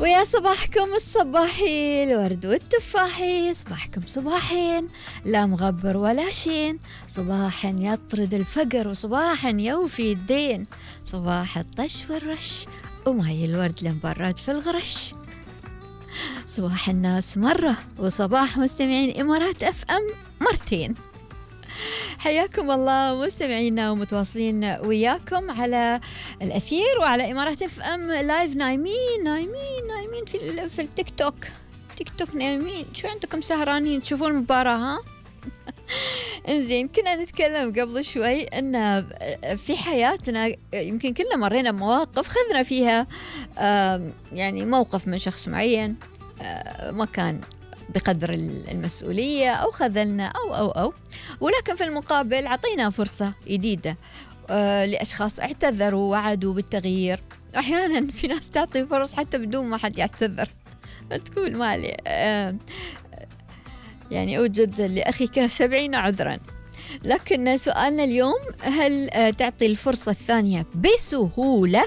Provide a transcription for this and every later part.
ويا صباحكم الصباحي الورد والتفاحي، صباحكم صباحين لا مغبر ولا شين، صباح يطرد الفقر وصباح يوفي الدين، صباح الطش والرش وماي الورد لمبرد في الغرش، صباح الناس مرة وصباح مستمعين إمارات اف ام مرتين. حياكم الله مستمعينا ومتواصلين وياكم على الأثير وعلى إمارات اف ام لايف. نايمين في التيك توك نايمين، شو عندكم سهرانين تشوفون المباراة ها؟ انزين، كنا نتكلم قبل شوي ان في حياتنا يمكن كلنا مرينا بمواقف خذنا فيها يعني موقف من شخص معين ما كان بقدر المسؤولية أو خذلنا أو ولكن في المقابل عطينا فرصة جديدة لأشخاص اعتذروا ووعدوا بالتغيير. أحيانا في ناس تعطي فرص حتى بدون ما حد يعتذر، تقول مالي يعني أوجد لأخيك 70 عذرا. لكن سؤالنا اليوم، هل تعطي الفرصة الثانية بسهولة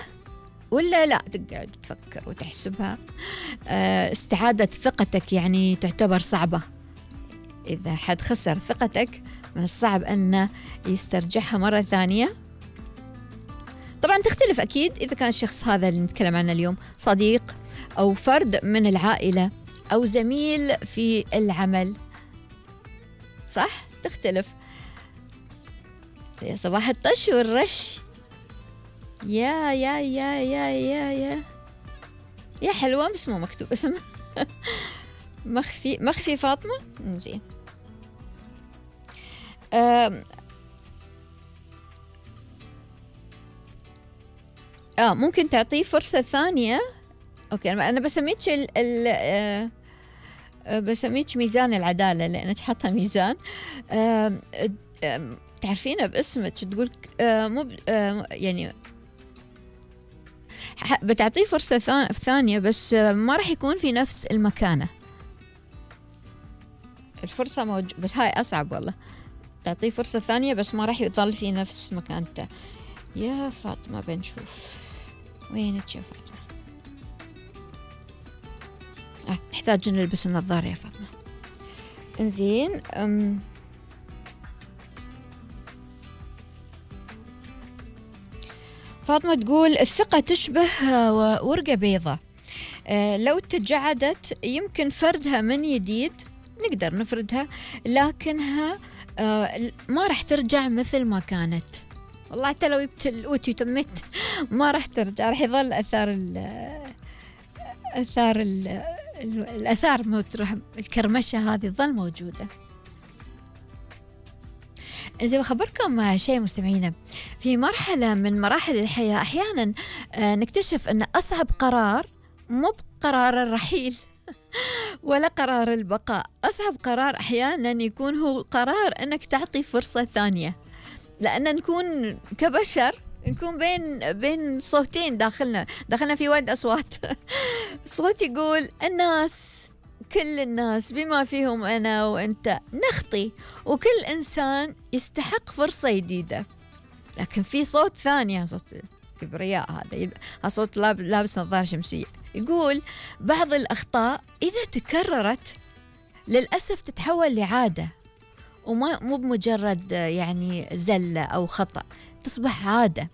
ولا لا تقعد تفكر وتحسبها؟ استعادة ثقتك يعني تعتبر صعبة. إذا حد خسر ثقتك من الصعب أن يسترجعها مرة ثانية. طبعا تختلف أكيد إذا كان الشخص هذا اللي نتكلم عنه اليوم صديق أو فرد من العائلة أو زميل في العمل، صح؟ تختلف. يا صباح الطش والرش، يا يا يا يا يا يا يا حلوة، بس مو مكتوب اسم. مخفي فاطمة. زين، ممكن تعطيه فرصة ثانية. اوكي، انا بسميك بسميك ميزان العدالة لانك حاطة ميزان. تعرفينه باسمك، تقول يعني بتعطيه فرصة ثانية بس ما راح يكون في نفس المكانة. الفرصة بس هاي أصعب والله. تعطيه فرصة ثانية بس ما راح يظل في نفس مكانته. يا فاطمة بنشوف وينك يا فاطمة. نحتاج نلبس النظارة يا فاطمة. انزين، فاطمة تقول الثقة تشبه ورقة بيضة، لو تجعدت يمكن فردها من جديد، نقدر نفردها لكنها ما راح ترجع مثل ما كانت. والله حتى لو جبت الأوتي وتمت ما راح ترجع، راح يظل الأثار الكرمشة هذه تظل موجودة. إذا بخبركم شيء مستمعينا، في مرحلة من مراحل الحياة أحيانا نكتشف أن أصعب قرار مو بقرار الرحيل ولا قرار البقاء. أصعب قرار أحيانا يكون هو قرار أنك تعطي فرصة ثانية، لأن نكون كبشر نكون بين صوتين داخلنا في وايد أصوات. صوت يقول الناس، كل الناس بما فيهم أنا وأنت نخطي، وكل إنسان يستحق فرصة جديدة. لكن في صوت ثاني، صوت كبرياء، هذا صوت لابس نظارة شمسية، يقول بعض الأخطاء إذا تكررت للأسف تتحول لعادة، مو بمجرد يعني زلة أو خطأ، تصبح عادة.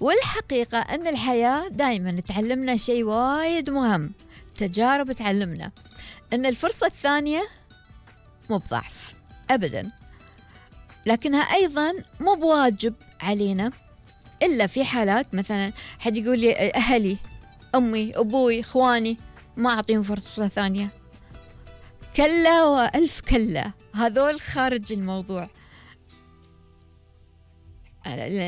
والحقيقة أن الحياة دائما تعلمنا شيء وايد مهم، تجارب تعلمنا أن الفرصة الثانية مو بضعف أبدا، لكنها أيضا مو بواجب علينا، إلا في حالات مثلا حد يقول لي أهلي، أمي، أبوي، إخواني ما أعطيهم فرصة ثانية. كلا وألف كلا، هذول خارج الموضوع. للأسف